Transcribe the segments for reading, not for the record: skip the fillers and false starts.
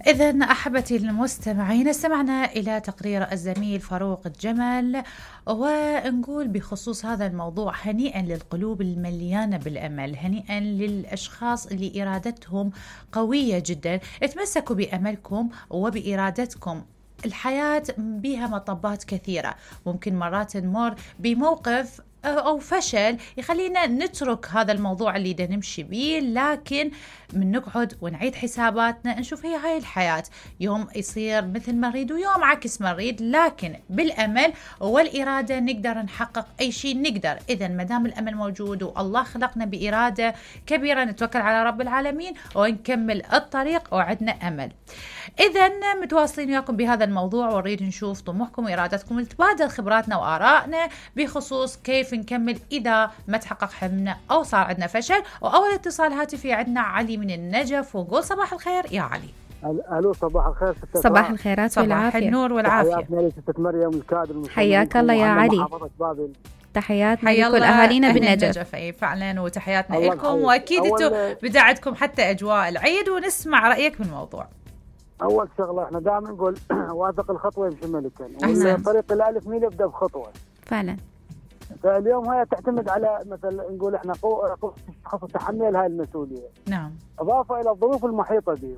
إذن أحبتي المستمعين، استمعنا إلى تقرير الزميل فاروق الجمل، ونقول بخصوص هذا الموضوع: هنيئا للقلوب المليانة بالأمل، هنيئا للأشخاص اللي إرادتهم قوية جدا. اتمسكوا بأملكم وبإرادتكم. الحياة بها مطبات كثيرة، ممكن مرات نمر بموقف أو فشل يخلينا نترك هذا الموضوع اللي دا نمشي بيه، لكن من نقعد ونعيد حساباتنا نشوف هي هاي الحياة، يوم يصير مثل ما نريد ويوم عكس ما نريد، لكن بالأمل والإرادة نقدر نحقق أي شيء نقدر. إذن مدام الأمل موجود والله خلقنا بإرادة كبيرة، نتوكل على رب العالمين ونكمل الطريق وعدنا أمل. إذن متواصلين وياكم بهذا الموضوع، ونريد نشوف طموحكم وإرادتكم ونتبادل خبراتنا وآرائنا بخصوص كيف نكمل إذا ما تحقق حلمنا أو صار عندنا فشل. وأول اتصال هاتفي عندنا علي من النجف، ونقول صباح الخير يا علي. الو صباح الخير. صباح الخيرات والعافية. صباح النور والعافية. حياتنا ست مريم الكادر. حياك الله يا علي. تحياتنا لكل أهالينا بالنجف. أي فعلا، وتحياتنا لكم، وأكيد أنتم بداعتكم حتى أجواء العيد، ونسمع رأيك بالموضوع. أول شغلة احنا دائما نقول واثق الخطوة يمشي ملكا، طريق الألف ميل يبدأ بخطوة فعلا. فاليوم هي تعتمد على مثلا نقول احنا قوة الشخص تحمل هاي المسؤولية. نعم. إضافة إلى الظروف المحيطة به،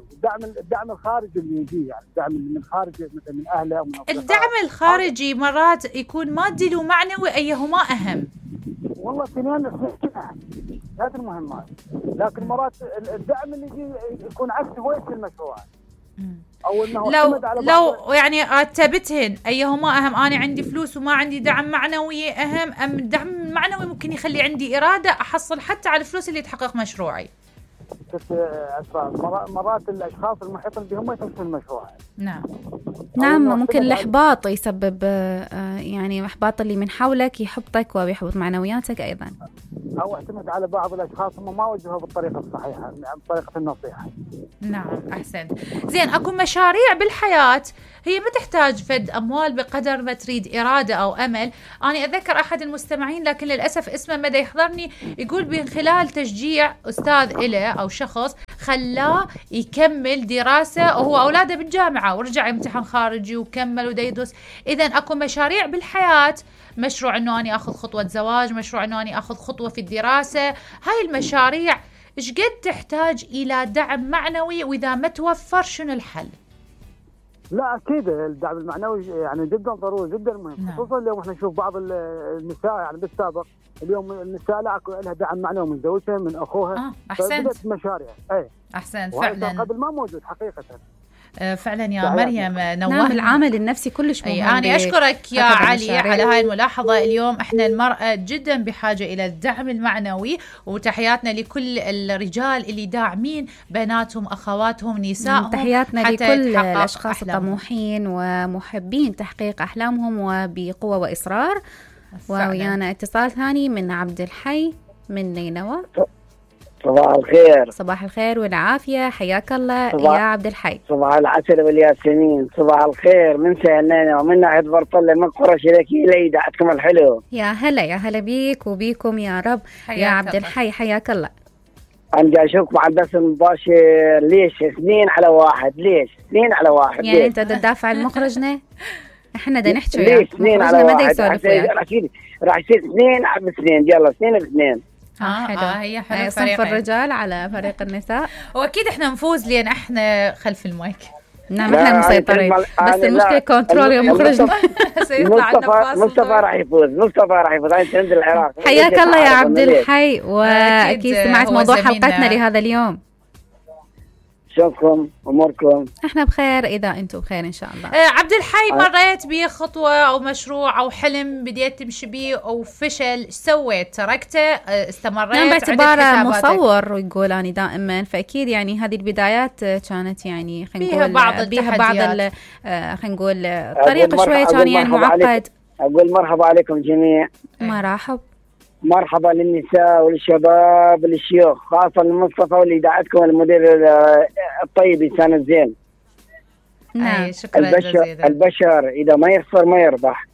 الدعم الخارجي اللي يجي، يعني الدعم من خارج مثلا من أهله أو من أصدقائه. الدعم الخارجي مرات يكون مادي ومعنوي، أيهما أهم؟ والله اثنين هذه المهمات، لكن مرات الدعم اللي يجي يكون عكس هوية المشروع. أو إنه لو يعني رتبتهن أيهما أهم، أنا عندي فلوس وما عندي دعم معنوي أهم، أم الدعم المعنوي ممكن يخلي عندي إرادة أحصل حتى على الفلوس اللي تحقق مشروعي؟ مرات الأشخاص المحيطين بهم يتمثل المشروع. نعم ممكن الإحباط يسبب يعني إحباط اللي من حولك، يحبطك ويحبط معنوياتك أيضا. أو اعتمد على بعض الأشخاص هم ما وجهوا بالطريقة الصحيحة، بطريقة النصيحة. نعم أحسنت. زين، أكو مشاريع بالحياة هي ما تحتاج فد أموال بقدر ما تريد إرادة أو أمل. أنا أذكر أحد المستمعين، لكن للأسف اسمه مدى يحضرني، يقول من خلال تشجيع أستاذ إله أو شخص خلاه يكمل دراسة وهو أولاده بالجامعة، ورجع يمتحن خارجي وكمل ودا يدرس. إذن أكو مشاريع بالحياة، مشروع أنه أنا أخذ خطوة زواج، مشروع أنه أنا أخذ خطوة في الدراسة. هاي المشاريع إيش قد تحتاج إلى دعم معنوي، وإذا ما توفر شنو الحل؟ لا أكيد الدعم المعنوي يعني جدا ضروري، جدا مهم. خصوصا اليوم احنا نشوف بعض النساء يعني بالسابق، اليوم النساء لا لها دعم معنوي من زوجها من أخوها. أحسنت. مشاريع أحسنت فعلا، قبل ما موجود حقيقة. فعلا يا مريم. نعم العامل النفسي كلش مهم. أنا أشكرك يا علي على هاي الملاحظة. اليوم احنا المرأة جدا بحاجة إلى الدعم المعنوي، وتحياتنا لكل الرجال اللي داعمين بناتهم أخواتهم نسائهم. تحياتنا لكل الأشخاص الطموحين ومحبين تحقيق أحلامهم وبقوة وإصرار. ويانا اتصال ثاني من عبد الحي من نينوى. صباح الخير. صباح الخير والعافية، حياك الله يا عبد الحي. صباح العسل والياسمين. صباح الخير من سهلنا ومن ناحية برطلة من قرى شركي ليدا. عندكم الحلو. يا هلا يا هلا بيك وبيكم يا رب يا عبد الحي، حياك الله. أنا أشوفكم على البث المباشر. ليش 2-1؟ ليش 2-1؟ يعني أنت تدافع عن مخرجنا؟ احنا دا نحكي ليش 2-1؟ راح يصير 2-2. يلا 2-2. حلو. هي حلو. صنف الرجال على فريق النساء، واكيد احنا نفوز لان احنا خلف المايك. نعم احنا مسيطرين، بس المشكله كنترول يا مخرجنا. مصطفى راح يفوز. انت عند العراق. حياك الله يا عبد الحي، واكيد سمعت موضوع حلقتنا لهذا اليوم. شوفكم اموركم. احنا بخير اذا انتم بخير ان شاء الله. عبد الحي، مريت بخطوه او مشروع او حلم بديت تمشي بيه او فشل، ايش سويت؟ تركته؟ استمريت؟ نعم باعتباره مصور ويقول اني دائما، فاكيد يعني هذه البدايات كانت يعني خلينا نقول بيها بعض خلينا نقول الطريق شويه كان يعني معقد. اقول مرحبا عليكم جميع. مرحبا للنساء وللشباب وللشيوخ، خاصة لمصطفى واللي دعتكم المدير الطيب إنسان الزين. شكرا جزيلا. البشر إذا ما يخسر ما يربح.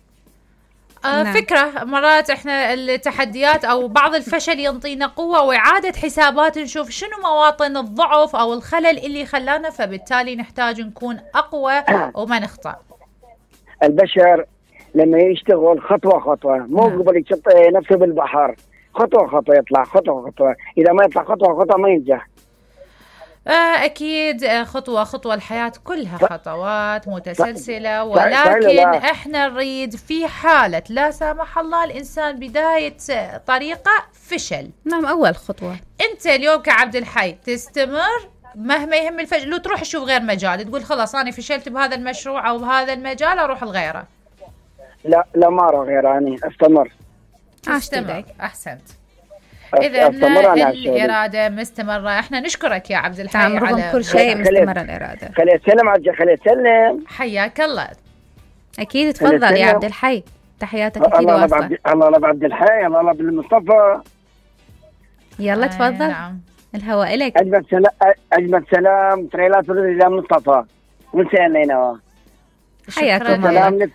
فكرة مرات احنا التحديات او بعض الفشل ينطينا قوة واعادة حسابات، نشوف شنو مواطن الضعف او الخلل اللي خلانا، فبالتالي نحتاج نكون اقوى وما نخطأ. البشر لما يشتغل خطوة خطوة، مو قبل يشط نفسه بالبحر، خطوة خطوة يطلع، خطوة خطوة، إذا ما يطلع خطوة خطوة ما ينجح. أكيد خطوة خطوة، الحياة كلها خطوات متسلسلة، ولكن احنا نريد في حالة لا سامح الله الإنسان بداية طريقة فشل. نعم، أول خطوة أنت اليوم كعبد الحي تستمر مهما يهم الفشل، لو تروح تشوف غير مجال تقول خلاص أنا فشلت بهذا المشروع أو بهذا المجال أروح لغيره. لا ما أروح غيره، أنا أستمر. أحسنت. إذا الإرادة مستمرة. إحنا نشكرك يا عبد الحي على كل شيء مستمرة الإرادة. خلي أسلم خلي أسلم. حياك الله. أكيد تفضل يا عبد الحي، تحياتك أكيد واصلة. الله بعبد الحي، الله بالمصطفى. يلا تفضل. نعم. الهواء لك. أجمل سلام تريلات إلى مصطفى ونسينا. حياكم الله.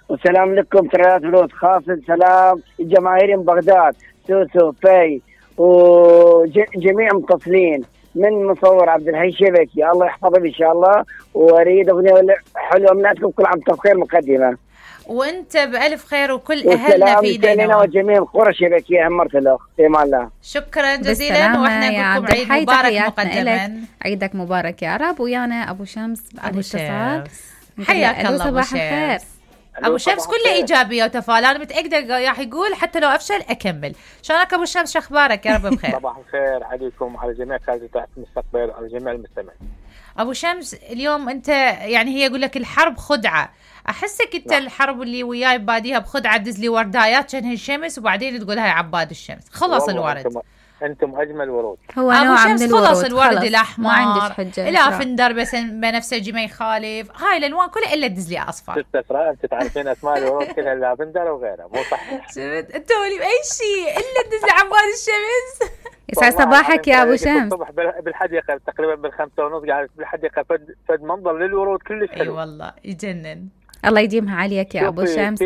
وسلام لكم تريلات ولود، خاصة سلام الجماهير من بغداد، سوسو في وجميع متصلين من مصور عبد الحي شبكي، الله يحفظه ان شاء الله، واريد اغنيه حلوه مناتكم، كل عام وانتم بخير مقدمه. وانت بالف خير وكل اهلنا في دينا وجميع قرى شبكيه همرت له في امان الله. شكرا جزيلا، واحنا نقول لكم عيد مبارك مقدما. عيدك مبارك يا رب. ويانا ابو شمس ابو شمس، حياك الله صباح الخير. ابو شمس كله ايجابيه وتفاؤل، انا متاكده راح يقول حتى لو افشل اكمل. شلونك ابو شمس، شو اخبارك؟ يا رب بخير. صباح الخير عليكم وعلى جميع كادر تحت المستقبل وعلى جميع المستمعين. ابو شمس اليوم انت يعني هي يقول لك الحرب خدعه، احسك انت الحرب اللي وياي باديها بخدعه، تدز لي وردايات شنه الشمس وبعدين تقول هاي عباد الشمس. خلص الورد، انتم اجمل ورود. هو نوع من الورود، خلص الورد الاحمر، ما عندك حجه، الافندر بس بنفسجي ما يخالف، هاي الالوان كلها الا تدز لي اصفر. انت تعرفين اسماء الورود كلها، الافندر وغيرها، مو صحيح؟ شفت انت ولي باي شيء الا تدز لي عباد الشمس. يسعد صباحك يا ابو شمس. الصبح بالحديقه تقريبا بال5:30 قاعد بالحديقه، فد منظر للورود كلش حلو. اي والله يجنن. الله يديمها عليك يا ابو شمس.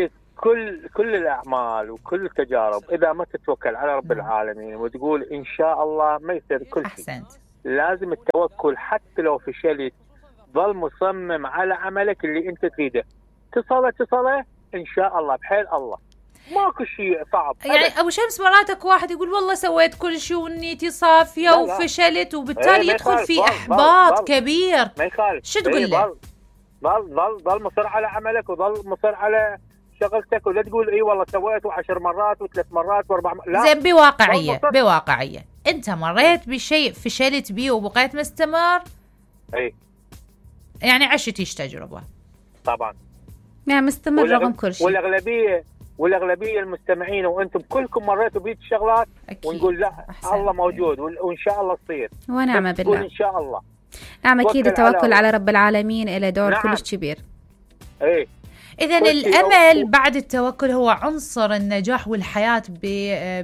كل الأعمال وكل التجارب إذا ما تتوكل على رب العالمين وتقول إن شاء الله ما يصير كل شيء. أحسنت. لازم التوكل، حتى لو فشلت ظل مصمم على عملك اللي أنت تريده، تصله إن شاء الله بحيل الله، ماكو شيء صعب. يعني أبو شمس مراتك واحد يقول والله سويت كل شيء ونيتي صافية وفشلت، وبالتالي يدخل في إحباط كبير. ما يخالف. شو تقول له؟ ظل مصر على عملك وظل مصر على شغلتك، ولا تقول اي والله سويته 10 مرات و3 مرات و4 مرات. لا زين، بواقعية انت مريت بشيء فشلت بيه وبقيت مستمر. اي يعني عشت ايش تجربة طبعا، يعني مستمر رغم كل شيء. والاغلبيه المستمعين وانتم كلكم مريتوا بهيك الشغلات، ونقول لا الله موجود وان شاء الله تصير ونعم بالله ان شاء الله. نعم اكيد التوكل على رب العالمين له دور كلش كبير. اي إذن الأمل بعد التوكل هو عنصر النجاح والحياة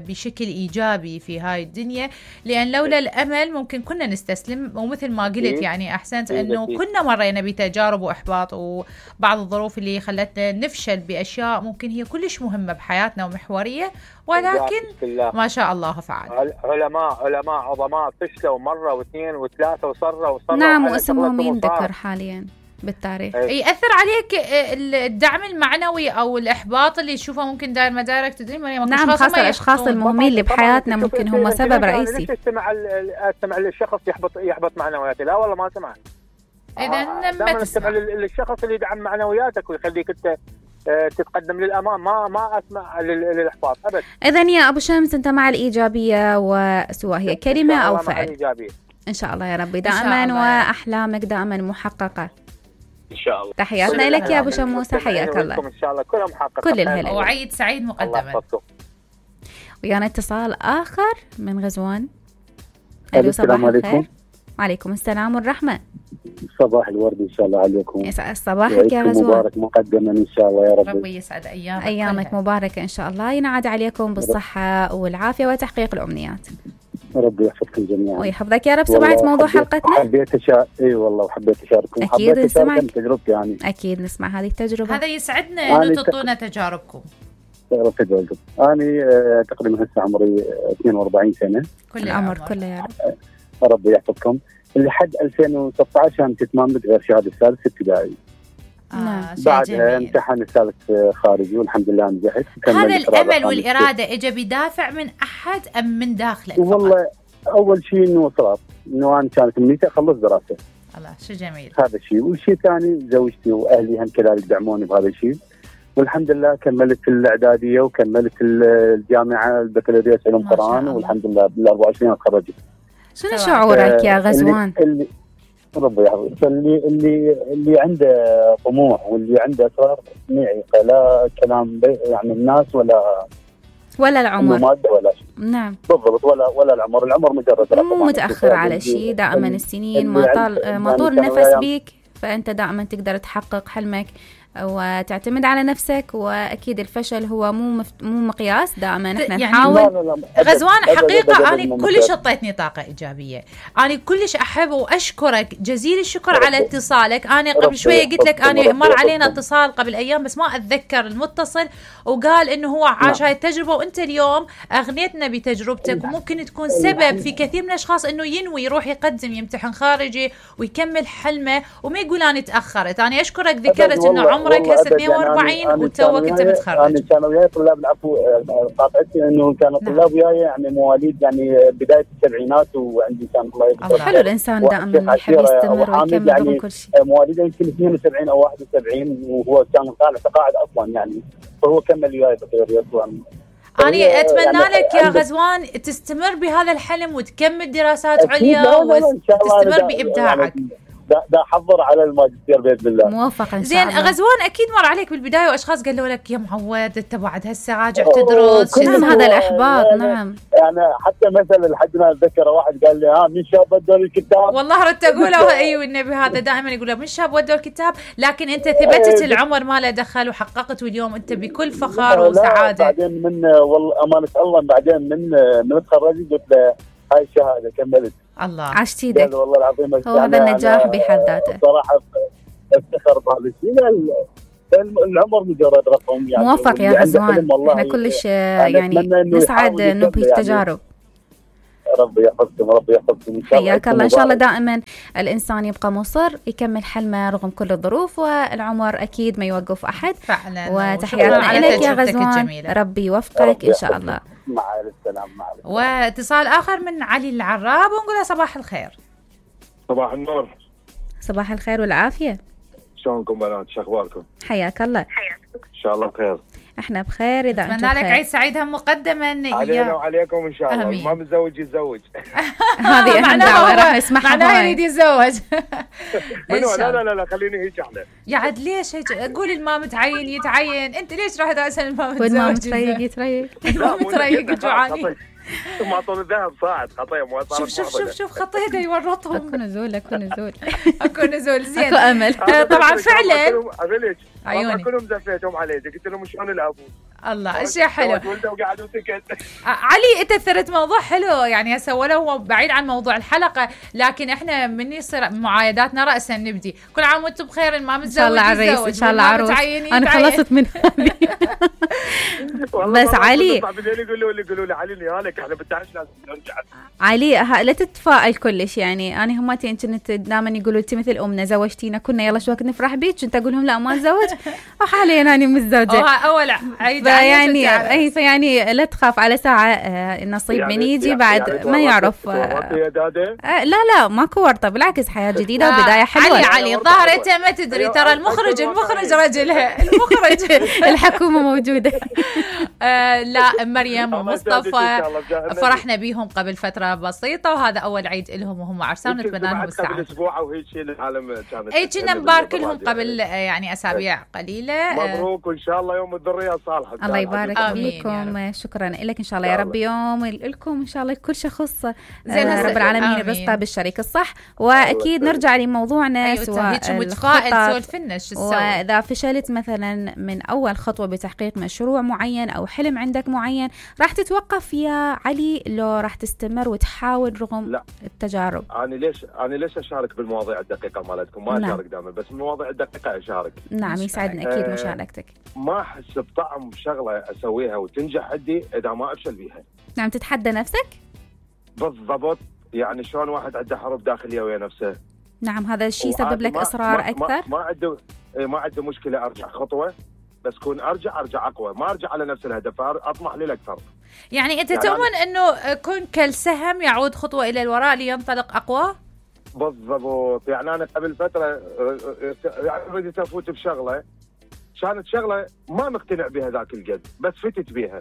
بشكل إيجابي في هاي الدنيا، لأن لولا الأمل ممكن كنا نستسلم، ومثل ما قلت يعني أحسنت أنه كنا مرينا بتجارب وإحباط وبعض الظروف اللي خلتنا نفشل بأشياء ممكن هي كلش مهمة بحياتنا ومحورية، ولكن ما شاء الله فعل. علماء عظماء فشلوا مرة واثنين وثلاثة وصروا. نعم، واسمهم ينذكر حاليا بالتاريخ. يأثر عليك الدعم المعنوي أو الإحباط اللي تشوفه ممكن داير مدارك تدري؟ نعم، خاصة الأشخاص المهمين اللي بحياتنا ممكن هم سبب رئيسي. ليش استمع للشخص يحبط معنوياتي؟ لا والله ما سمع. إذا ما تسمع للشخص اللي يدعم معنوياتك ويخليك أنت تتقدم للأمام، ما أسمع للإحباط أبدا. إذن يا أبو شمس أنت مع الإيجابية، وسواء هي كلمة أو فعل. إن شاء الله يا ربي دائما، وأحلامك دائما محققة إن شاء الله. تحياتنا لك يا أبو شموسة، حياك الله. إن شاء الله كلها محققة، كل الهلا وعيد سعيد مقدما. ويانا اتصال آخر من غزوان. ألو، صباح الخير. وعليكم السلام والرحمة. صباح الورد إن شاء الله عليكم. يسعد صباحك يا غزوان. مبارك مقدما إن شاء الله يا رب. ربي يسعد أيامك مباركة إن شاء الله، ينعاد عليكم بالصحة والعافية وتحقيق الأمنيات. ربي يحفظكم جميعا ويحفظك يا رب. سمعت موضوع حلقتنا؟ حبيت اي والله، وحبيت اشارككم. اكيد نسمع تجربتي يعني. اكيد نسمع هذه التجربه، هذا يسعدنا انه تعطونا تجاربكم. أنا تقريبا هسه عمري 42 سنة. كل العمر كله يا رب. ربي يحفظكم. لحد 2016 أنا تتممت غير شهادة الثالث ابتدائي. بعدها امتحن الثالث خارجي والحمد لله نجحت. هذا الأمل والإرادة إجا بدافع من أحد أم من داخلك؟ والله أول شيء إنه إصرار، إنه أنا كانت أمنيتي أخلص دراسة. الله شو جميل. هذا الشيء، والشيء الثاني زوجتي وأهلي هم كذلك دعموني بهذا الشيء، والحمد لله كملت الإعدادية وكملت الجامعة البكالوريوس علوم قرآن، والحمد لله بال 24 تخرجت. شنو شعورك يا غزوان؟ ربي يحفظك. اللي عنده طموح واللي عنده اصرار ما يعيق، لا كلام يعني الناس ولا العمر مادة ولا شيء. نعم بالضبط، ولا العمر مجرد رقم. مو متأخر على شيء، دائما السنين ما طول نفس بيك، فأنت دائما تقدر تحقق حلمك وتعتمد على نفسك. واكيد الفشل هو مو مقياس، دائما احنا يعني نحاول. غزوان حقيقه انا كلش عطيتني طاقه ايجابيه، انا كلش احب واشكرك جزيل الشكر على اتصالك. انا قبل شويه قلت لك انا مر علينا اتصال قبل ايام بس ما اتذكر المتصل، وقال انه هو عاش هاي التجربه، وانت اليوم اغنيتنا بتجربتك، وممكن تكون سبب في كثير من الاشخاص انه ينوي يروح يقدم يمتحن خارجي ويكمل حلمه وما يقول انا تاخرت. انا اشكرك ذكرت انه عمرك هسه 42 وتوك انت متخرج. انا كانوا وياي طلاب، العفو قاطعتي، انه كانوا طلاب وياي يعني مواليد يعني بدايه السبعينات، وعندي كان الله يبارك. حلو الانسان دائما يحب يستمر ويكمل رغم كل شيء. مواليد يمكن 72 او 71، وهو كان طالع تقاعد اصلا يعني، فهو كمل وياي بكالوريوس. أنا أتمنى يعني لك يا غزوان تستمر بهذا الحلم وتكمل دراسات عليا وتستمر بإبداعك. دا حضر على الماجستير باذن الله. موفق ان شاء الله. زين غزوان، اكيد مر عليك بالبدايه واشخاص قالوا لك يا معود انت بعد هسه راجع تدرس. نعم هذا الاحباط. نعم يعني حتى مثلا لحد ما اتذكر واحد قال لي من شاب ودوا الكتاب. والله ردت اقوله ايوه النبي هذا دائما يقول من شاب ودوا الكتاب، لكن انت ثبتت العمر ما له دخل وحققت، واليوم انت بكل فخر وسعاده. بعدين من والله امانه الله بعدين من تخرجت قلت له هاي الشهاده كملت. الله عشتي ايدك. والله العظيم هو هذا النجاح بحد ذاته. صراحه افتخر بهذا الشيء. العمر مجرد رقم يعني. موفق يا غزوان، احنا كلش يعني نسعد نبهي التجارب. ربي يحفظكم ربي يحفظكم ان شاء الله. حياك الله. ان شاء الله دائما الانسان يبقى مصر يكمل حلمه رغم كل الظروف، والعمر اكيد ما يوقف احد فعلا. وتحياتنا لك يا غزوان، ربي يوفقك ان شاء الله. مع السلامه. مع السلامه. واتصال اخر من علي العراب ونقول له صباح الخير. صباح النور. صباح الخير والعافيه. شلونكم بنات؟ شو اخباركم؟ حياك الله. ان شاء الله بخير. احنا بخير. اذا اتمنى لك عيد سعيد هم مقدما. علينا وعليكم ان شاء الله. ما متزوج يتزوج. هذه اهم دعوه راح نسمعها. معناها يريد يتزوج. لا خليني هيك احنا. يا عاد ليش هيك؟ قول الما متعين يتعين، انت ليش راح تسال الما متزوج؟ والما متريق يتريق. الما متريق جوعاني. ثم اعطوني الذهب صاعد خطيه مو صار. شوف خطيته يورطهم. اكو نزول. اكو نزول. زين اكو امل. طبعا فعلا عيوني كلهم زفيتهم علي، قلت لهم شلون الابو. الله اشياء حلو. وقعد وسكت. علي انت اثرت موضوع حلو يعني هسه ولو بعيد عن موضوع الحلقه، لكن احنا من يصير معايداتنا راسا نبدي كل عام وانتم بخير. ما متزوج ان شاء الله عريس ان شاء الله عروس. انا خلصت من هذه. بس علي يقولوا لي علي نهالك احنا بالتعش لازم نرجع. علي لا تتفائل كلش يعني. انا هماتي كنت دائما يقولوا انت مثل امنا زوجتينا كنا يلا شو وقت نفرح بيك، كنت اقول لهم لا ما اتزوج وحاليا انا متزوجه. اول عيد يعني لا تخاف على ساعه النصيب يعني من يجي بعد يعني ما يعرف. لا ماكو ورطه، بالعكس حياه جديده وبدايه حلوه. علي الظاهر انت ما تدري ترى المخرج رجلها المخرج. الحكومه موجوده. لا مريم ومصطفى فرحنا بيهم قبل فتره بسيطه، وهذا اول عيد لهم وهم عرسان، نتمنى لهم السعاده. قبل اسبوع وهيك شيء العالم كانت كنا نبارك لهم قبل يعني اسابيع قليله. مبروك وان شاء الله يوم الذريه صالحه. الله يبارك فيكم. شكرا لك ان شاء الله يا رب. يوم لكم ان شاء الله كل شخص زين رب العالمين يرزقه بالشريك الصح. واكيد نرجع لموضوعنا سواء واذا فشلت مثلا من اول خطوه بتحقيق مشروع معين او حلم عندك معين، راح تتوقف يا علي لو راح تستمر وتحاول رغم التجارب؟ انا ليش اشارك بالمواضيع الدقيقه مالتكم؟ ما اشارك دائما، بس المواضيع الدقيقه اشارك. نعم يسعدنا اكيد مشاركتك. ما احس بطعم شغله اسويها وتنجح عندي اذا ما افشل بيها. نعم، تتحدى نفسك؟ بالضبط، يعني شلون واحد عنده حروب داخليه ويا نفسه. نعم، هذا الشيء سبب لك اصرار اكثر. ما عنده مشكله ارجع خطوه، بس كون ارجع اقوى، ما ارجع على نفس الهدف، اطمح للاكثر. يعني انت تؤمن انه كن كالسهم يعود خطوه الى الوراء لينطلق اقوى؟ بالضبط. يعني انا قبل فتره يعني رديت افوت بشغله، كانت شغله ما مقتنع بها ذاك القد، بس فتت بها،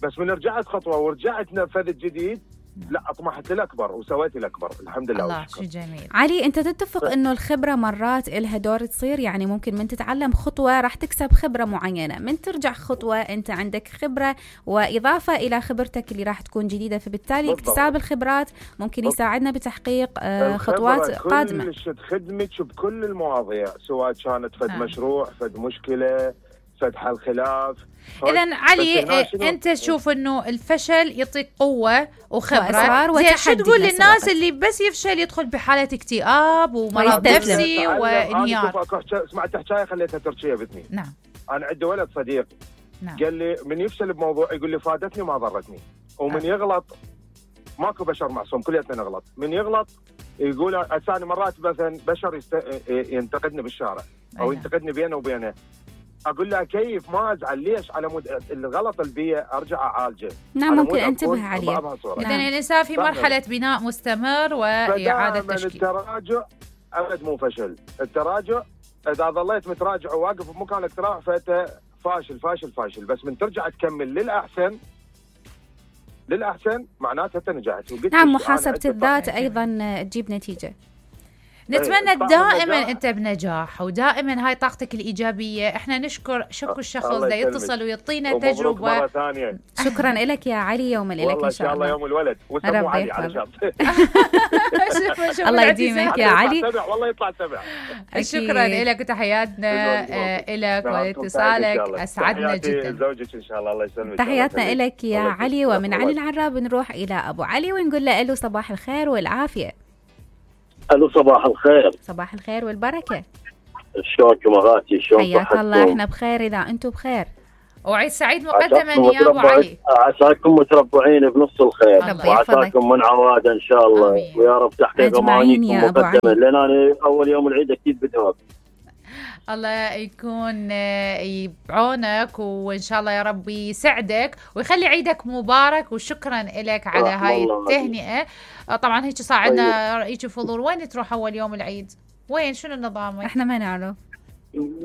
بس من رجعت خطوه ورجعت نفذت جديد، لا اطمحت للاكبر وسويت الاكبر الحمد لله. الله شيء جميل. علي، انت تتفق انه الخبره مرات لها دور تصير، يعني ممكن من تتعلم خطوه راح تكسب خبره معينه، من ترجع خطوه انت عندك خبره واضافه الى خبرتك اللي راح تكون جديده، فبالتالي اكتساب الخبرات ممكن يساعدنا بتحقيق خطوات قادمه. كل خدمتك بكل المواضيع، سواء كانت فد مشروع، فد مشكله، فد حل خلاف. إذن علي، أنت تشوف إنه الفشل يعطيك قوة وخبرة، زين شو تقول للناس اللي بس يفشل يدخل بحالة اكتئاب ومرض نفسي وانهيار؟ سمعت حكاية خليتها تركية بإذني. نعم. أنا عندي ولد صديق، نعم، قال لي من يفشل بموضوع يقول لي فادتني ما ضرتني، ومن يغلط ماكو بشر معصوم، كلياتنا نغلط، من يغلط يقول أساني مرات مثلا بشر ينتقدني بالشارع أو ينتقدني بينه وبينه، اقول له كيف ما ازعل، ليش؟ على مود الغلط البيئة ارجع اعالجه. نعم، ممكن انتبه عليه. اذا الانسان في مرحله بناء مستمر واعاده تشكيل. التراجع ابد مو فشل، التراجع اذا ظليت متراجع وواقف بمكانك تراجع فانت فاشل فاشل فاشل، بس من ترجع تكمل للاحسن معناته انت نجحت. نعم، محاسبه الذات ايضا تجيب نتيجه. نتمنى دائما انت بنجاح، ودائما هاي طاقتك الايجابيه. احنا نشكر الشخص ده يتصل ويعطينا تجربه. شكرا لك يا علي، يوم لك ان شاء الله. يوم الولد وسموه علي على شرط. الله يديمك يا علي، والله يطلع سبع. شكرا لك وتحياتنا لك ولاتصالك، اسعدنا جدا. زوجك ان شاء الله، الله يسلمك. تحياتنا لك يا علي. ومن علي العراب نروح الى ابو علي ونقول له الو صباح الخير والعافيه. الو صباح الخير. صباح الخير والبركه. شلونكم اغاتي؟ شلون حياك الله، احنا بخير اذا انتم بخير. وعيد سعيد مقدما يا ابو علي. عساكم متربعين بنص الخير، وعساكم من عواد ان شاء الله، ويا رب تحقيق امانيكم مقدما، لان انا اول يوم العيد اكيد بدوام. الله يكون بعونك، وإن شاء الله يا رب يسعدك ويخلي عيدك مبارك. وشكرا لك على هاي التهنئة. طبعا هيك صار عندنا رأيك فضول، وين تروح أول يوم العيد؟ وين شنو النظام؟ احنا ما نعرف.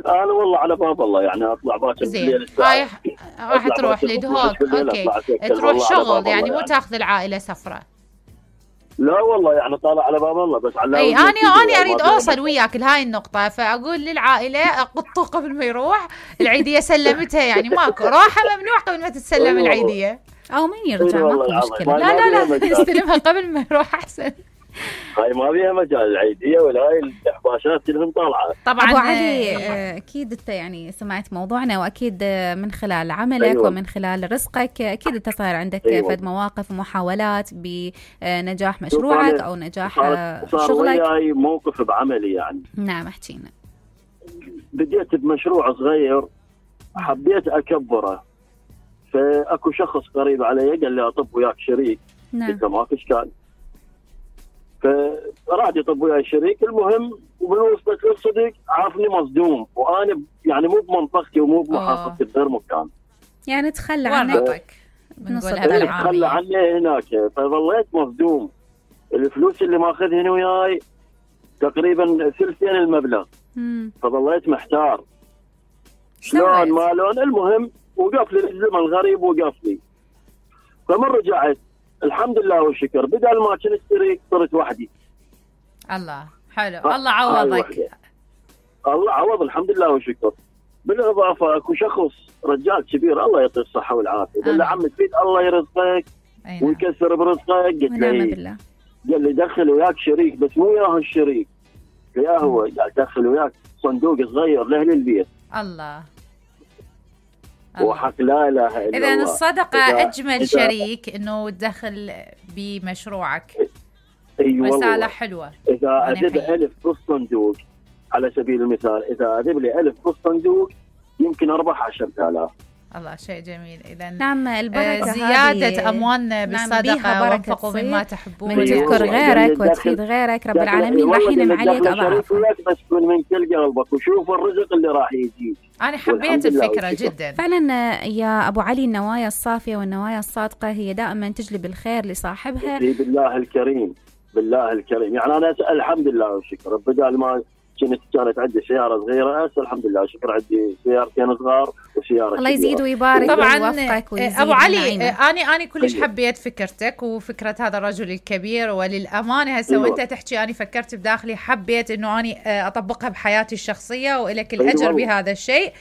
أنا والله على باب الله، يعني أطلع باكر بالليل. راح تروح لدهوك، أوكي، تروح شغل يعني مو تاخذ العائلة سفرة؟ لا والله، يعني طالع على باب الله بس على. اي انا اريد اوصل وياك لهاي النقطه، فاقول للعائله قطوا قبل ما يروح العيديه سلمتها، يعني ماكو راحه ممنوع قبل ما تتسلم العيديه، او من يرجع ماكو مشكله. لا يستلمها قبل ما يروح احسن. هاي ما فيها مجال العيديه ولا هاي الاحباشات كلهم طالعه. طبعا ابو علي، اكيد انت يعني سمعت موضوعنا، واكيد من خلال عملك ومن خلال رزقك اكيد انت صار عندك فد مواقف ومحاولات بنجاح مشروعك او نجاح شغلك. صار وياي موقف بعملي يعني. نعم، احكينا. بديت بمشروع صغير، حبيت اكبره، فاكو شخص قريب علي قال لي اطب وياك شريك. نعم. قلت له ما فيش كان، فراد يطب وياي شريك. المهم ومن وصلت للصديق عرفني مصدوم، وانا يعني مو بمنطقتي ومو بمحافظتي بغير مكان، يعني تخلى عنك، تخلى عني هناك. فظليت مصدوم، الفلوس اللي ماخذهن وياي تقريبا ثلثين المبلغ. فظليت محتار شلون ما لون. المهم وقف لي الزمن الغريب، وقف لي. فمن رجعت الحمد لله والشكر، بدل ما كنت شريك صرت وحدي. الله حلو، الله عوضك. الله عوض الحمد لله والشكر. بالاضافه اكو شخص رجال كبير الله يعطيه الصحه والعافيه، قال لي عم تفيد الله يرزقك ويكسر برزقك. قلت له قال لي دخل وياك شريك، بس مو وياه الشريك، وياه هو، قال دخل وياك صندوق صغير لاهل البيت. الله. وحق لا اله الا الله. اذا الصدقه اجمل شريك انه تدخل بمشروعك. ايوه رساله حلوه. اذا اذب 1000 بالصندوق على سبيل المثال، اذا اذب لي 1000 بالصندوق يمكن اربح 10,000. الله شيء جميل. إذا نعم البركة زيادة أموالنا بالصدقة وانفقوا مما تحبون من تذكر غيرك وتفيد غيرك رب العالمين راح ينعم عليك أضعافه. بس تكون من كل قلبك وشوف الرزق اللي راح يجيك. أنا حبيت الفكرة جدا فعلا يا أبو علي. النوايا الصافية والنوايا الصادقة هي دائما تجلب الخير لصاحبها. بالله الكريم بالله الكريم. يعني أنا الحمد لله والشكر بدل ما كانت عندي سيارة صغيرة الحمد لله شكر عندي سيارتين صغار وسيارة الله يزيد ويبارك ويوفقك ويزيد. أبو علي أنا كلش حبيت فكرتك وفكرة هذا الرجل الكبير، وللأمانة هسه وأنت تحكي أنا فكرت بداخلي حبيت إنه أنا أطبقها بحياتي الشخصية وإلك الأجر بهذا الشيء.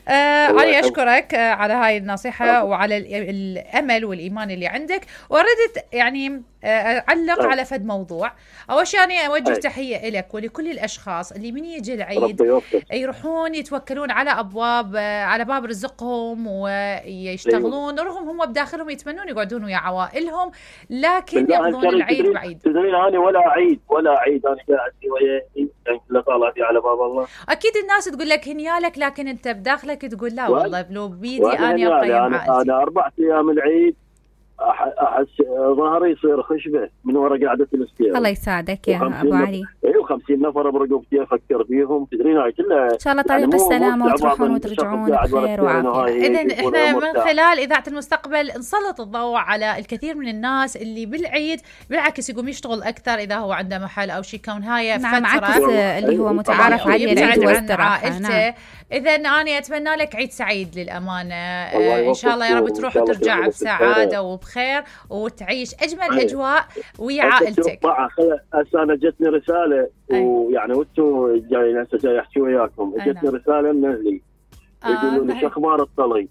أنا أشكرك على هاي النصيحة وعلى الأمل والإيمان اللي عندك. وردت يعني أعلق على فد موضوع. أول شيء أنا أوجه تحية لك ولكل الأشخاص اللي من يجي العيد يروحون يتوكلون على باب رزقهم ويشتغلون رغم هم بداخلهم يتمنون يقعدون ويا عوائلهم لكن يقضون العيد بعيد. تدرين أنا ولا عيد أنا قاعد ويا يعني كله طالع في على باب الله. أكيد الناس تقول لك هنيالك لكن أنت بداخلك تقول لا والله لو بيدي أنا أقيم عائلتي. أنا 4 أيام العيد أحس ظهري يصير خشبة من وراء قعدة الاستياء. الله يساعدك يا أبو علي. 50 نفر برقبتي أفكر فيهم. تدرين هاي كلها إن شاء الله طريق السلامة وتروحون وترجعون بخير وعافية. إذن إحنا من خلال إذاعة المستقبل نسلط الضوء على الكثير من الناس اللي بالعيد بالعكس يقوم يشتغل أكثر إذا هو عنده محل أو شيء كون هاي نعم عكس اللي هو متعارف عليه العيد واستراحة. نعم. إذا أنا أتمنى لك عيد سعيد للأمانة. إن شاء الله يا رب تروح وترجع بسعادة وبخير وتعيش أجمل أجواء ويا عائلتك. هسه أنا جتني رسالة ويعني وانتم جايين هسه جاي أحكي وياكم جتني رسالة من أهلي يقولوا لي شو أخبار الطلي.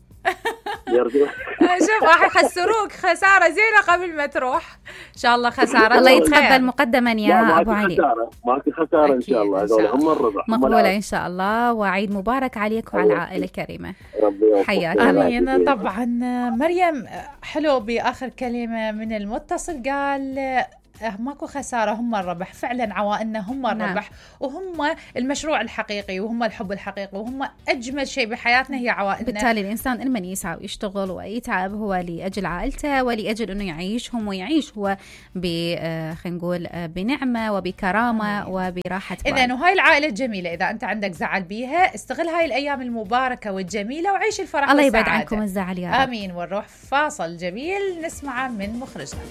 شوف راح يخسروك خسارة زينة قبل ما تروح إن شاء الله. خسارة الله يتقبل مقدما يا أبو علي. ماكو خسارة إن شاء الله. هذول هم الربح مقبولة إن شاء الله. وعيد مبارك عليك وعلى العائلة الكريمة. حياك آمين. طبعا مريم حلو بآخر كلمة من المتصل قال ماكو خسارة هم الربح. فعلا عوائلنا هم الربح وهم المشروع الحقيقي وهم الحب الحقيقي وهم أجمل شيء بحياتنا هي عوائلنا. بالتالي الإنسان إنما يسعى ويشتغل ويتعب هو لأجل عائلته ولأجل أنه يعيشهم ويعيش هو خلينا نقول بنعمة وبكرامة وبراحة بال. إذن وهاي العائلة الجميلة إذا أنت عندك زعل بيها استغل هاي الأيام المباركة والجميلة وعيش الفرح الله يبعد عنكم الزعل يا رب. آمين. ونروح فاصل جميل نسمعه من مخرجنا.